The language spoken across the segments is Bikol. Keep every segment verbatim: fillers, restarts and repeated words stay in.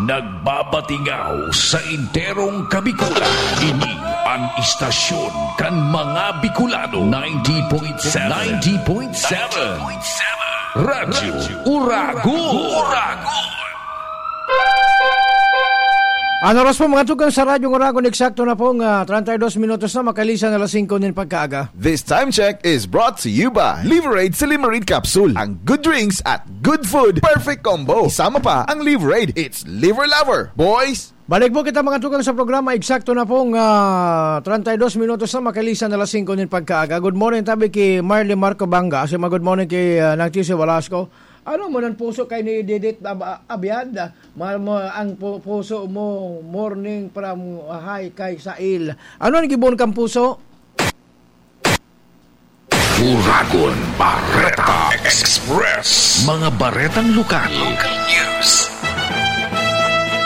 Nagbabatingaw sa enterong Kabikulan. Ini an istasyon kan mga Bicolano, ninety point seven. Ninety point seven. Radyo Uragon. Uragon. An oras po, mga tugang, sa Radyo Uragon, eksakto na pong, ah, treinta y dos minutos na makalisan na alas singko nin pagkaaga. This time check is brought to you by Liverade Silimarid Capsule. Ang good drinks at good food, perfect combo. Isama pa ang Liverade. It's Liver Lover, boys! Balik po kita, mga tugang, sa programa. Eksakto na pong, ah, treinta y dos minutos na makalisan na alas singko nin pagkaaga. Good morning tabi ki Marley Marco Banga. Asya man, good morning ki, ah, Nang Chisi Velasco. Ano mo nan puso kay ni Didit Ab-, Abiad? Ma-, ma-, ang pu-, puso mo, morning from, ah, high kay Sail. Ano ang gibon kang puso? Uragon Bareta Express. Mga baretang lokal. Local news.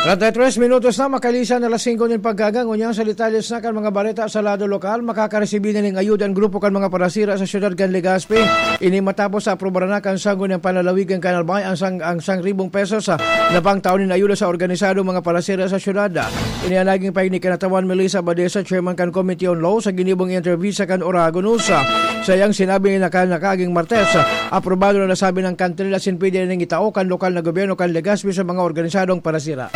Treinta y tres minutos na makalisan na alas singko nin pagkaaga. Ngunyan, sa detalye sa kan mga bareta sa lado lokal, makakaresibi na nin ayuda an grupo kan mga parasira sa siyudad kan Legazpi. Ini matapos sa aprobaran na kan Sangguniang Panlalawigan kan Albay ang sang-, ang siyang ribong pesos, ah, na pangtao nin ayuda sa organisadong mga parasira sa siyudad. Ini an naging pahayag ni Kinatawan Melissa Badesa, chairman kan Committee on Law, sa ginibong interview sa kan Uragon News. Sa iyang sinabi na kan nakaaging Martes, aprobado na nasabi ng kantil asin pwede na ning itao kan lokal na gobyerno kan Legazpi sa mga organisadong parasira.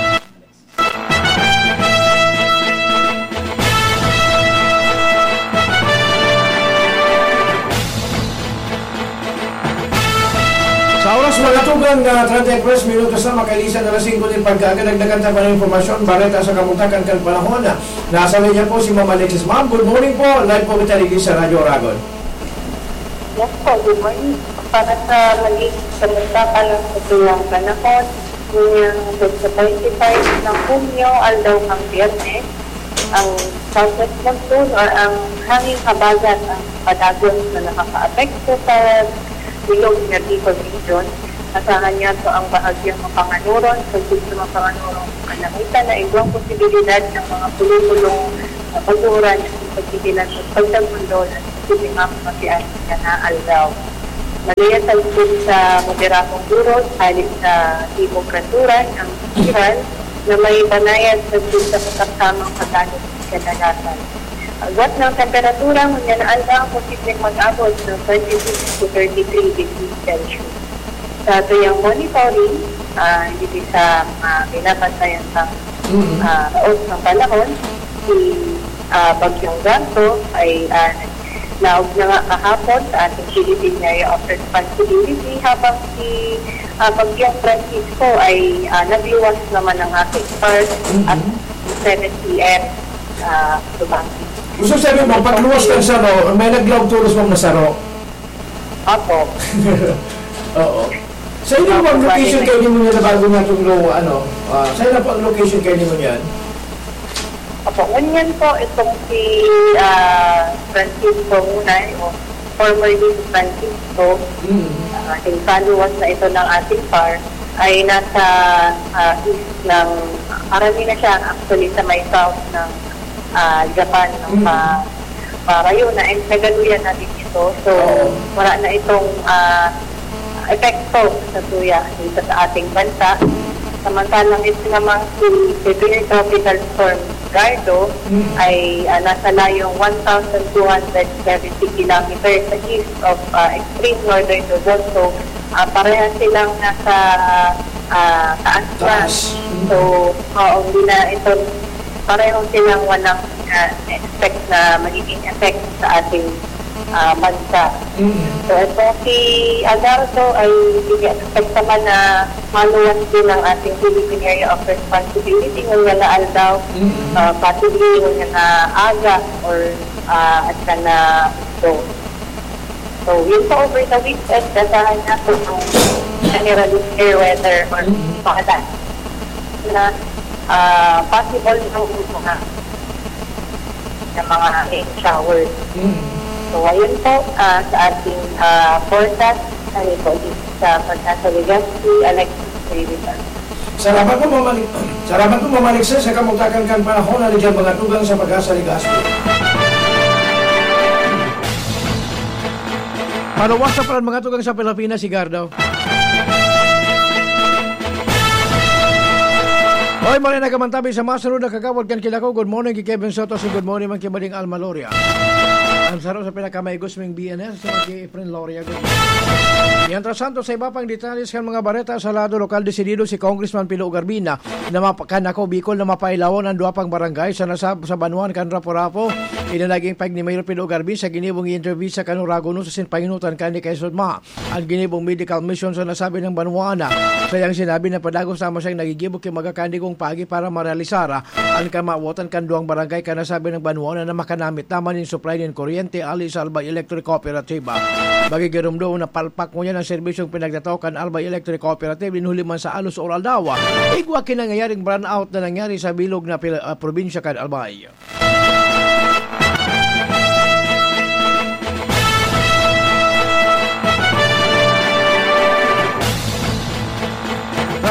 Sa oras, mga tugang, na treinta y tres minutos na makalisan na alas singko nin pagkaaga, dagdagan ta pa ng impormasyon, bareta sa kabugtakan kan panahon. Nasa linya po si Ma'am Alexis. Ma'am, good morning po. Live po kita dito sa Radyo Uragon. Yes po, good morning. Para sa magiging kabugtakan ng satuyang panahon, ngayong Petsa twenty-five ng Hunyo, aldaw ng Biyernes, ang southwest monsoon or ang hanging habagat ang padagos na nakakaapekto sa bilog na Bicol Region. Asahan niya po ang bahagyang mapanganuron sa gitna mapanganuron kalangitan na igwang posibilidad ng mga pulupulong na pag-uuran at pagdidilan sa pagtagundo na sa mga matias na aldaw. Malaya sa likod sa moderadong buros, hali sa timog kanluran ang Iral na may banayad sa sa katamtamang pagkano sa kadalasan. Agwat ng temperatura, ngunyan na aldaw, posibleng mag-abot ng twenty-six to thirty-three degrees Celsius. Sa tuyang monitoring, ah, hindi sa mga binabantayan pang, Mm. ah, laos ng panahon, si, ah, Bagyong Gardo ay, ah, naglaog na nga kahapon sa ating Philippine Area of Responsibility, habang si, ah, Bagyong Francisco ay, ah, nagluwas naman ng ating park Mm. at seven P M, ah, Lubang. Gusto sabihin mo, pagluwas ng saro, may naglaog tolos mong nasaro? Opo. Oo. Sa inyo po ang Opo, location pare. Kayo nimo niya na bago nga itong lo-, ano, ah, sa inyo po ang location kayo nimo niyan? Opo, ngunyan po itong si, ah, Francisco Munay o formerly si Francisco, Mm. ah, yung kaluwas na ito ng ating par, ay nasa, ah, east ng, karami na siya actually sa may south ng, ah, Japan, ng Mm. pa-, parayo na, and nagaluyan na din ito. So, Oo. wala na itong, ah, epekto sa tuya dito sa ating bansa. Samantalang ito namang si Severe Tropical Storm Gardo Mm. ay, ah, nasa layong one thousand two hundred seventy kilometers sa east of, ah, extreme northern Luzon. So, ah, parehas silang nasa, ah, taas na. Taas. Mm. So, oo, hindi na ito, pareho silang walang, ah, expect na magiging effect sa ating, ah, bansa. Mm. So, ito si Agardo ay ini-expect naman na maluwas din ang ating Philippine Area of Responsibility ngunyan na aldaw, Mm. ah, possibly ngunyan na aga or, ah, at na So, yun po, over the weekend, asahan niya po yung generally fair weather or Mm. pakatan na, ah, possible na mga, na mga rain showers. Mm. So, ayun po, ah, sa ating, ah, forecast, ano po, dito sa Pagkasa Legazpi, Alexis Davidson. Salamat po, Ma'am Ali-, salamat po, Ma'am Alexis, sa kamugtakan kan panahon na diyan mga tugang sa Pag-asa Legazpi. Paluwas na pala mga tugang sa Pilipinas, si Gardo. Ay, maray na kamantabi sa masunod na kagawad kan Kilako. Good morning ki Kevin Soto, si good morning man ki Bading Alma Loria. Ang saro sa pinakamaigos ming B N S, si Maki Efren Loria. Good morning. Mientras tanto, sa iba pang detalles kan mga bareta sa lado lokal, desidido si Congressman Pilo Garbina na mapa-, kan Ako Bicol na mapailawon ang duwa pang barangay sa nasab-, sa banwaan kan Rapu-Rapu. Ini naging pag ni Mayor Pilo Garbin sa ginibong interview sa Kanurago no sa sinpahinutan kan ni Kaisod Ma. An ginibong medical mission sa nasabi ng banwaan. Sayang sinabi na padagos lamang siyang nagigibo ki mga kandigong pagi para marealisar an kamawotan kan duwang barangay kan nasabi ng banwaan na makanamit naman nin supply nin kuryente ali sa Albay Electric Cooperative. Magigirumdom na palpak ngunyan ang serbisyong pinagtatao kan Albay Electric Cooperative nin huli man sa alos or aldaw. Igwa ki nangyayaring brownout na nangyari sa bilog na pil-, ah, probinsya kan Albay.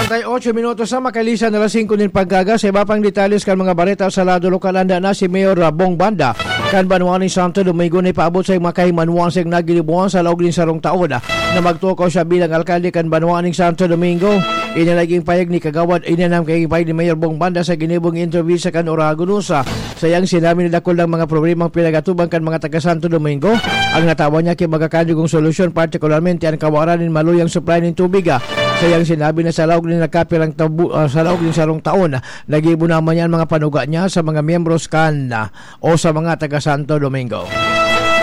Treinta y ocho minutos na makalisan na alas singko nin pagkaga. Sa iba pang detalles kan mga bareta sa lado lokal, anda na si Mayor, ah, Bong Banda kan banwa nin Santo Domingo na ipaabot sa mga kahimanwan sa nagilibuhan sa laog nin sarong taon, ah, na magtukaw siya bilang alkalde kan banwa nin Santo Domingo. Ini naging payag ni Kagawad, ini naging payag ni Mayor Bong Banda sa ginibong interview sa kan Oragon News. Sayang sinabi na dakul ang mga problemang pinagatuban kan mga taga Santo Domingo. Ang natawan niya ki mga kandigong solusyon, partikularmente an kawaran nin maluyang supply nin tubig. Sayang sinabi na sa laog nin nakapirang tabu-, ah, sa laog nin sarong taon, nagibo naman niya an mga panuga niya sa mga miyembros kan, ah, o sa mga taga Santo Domingo.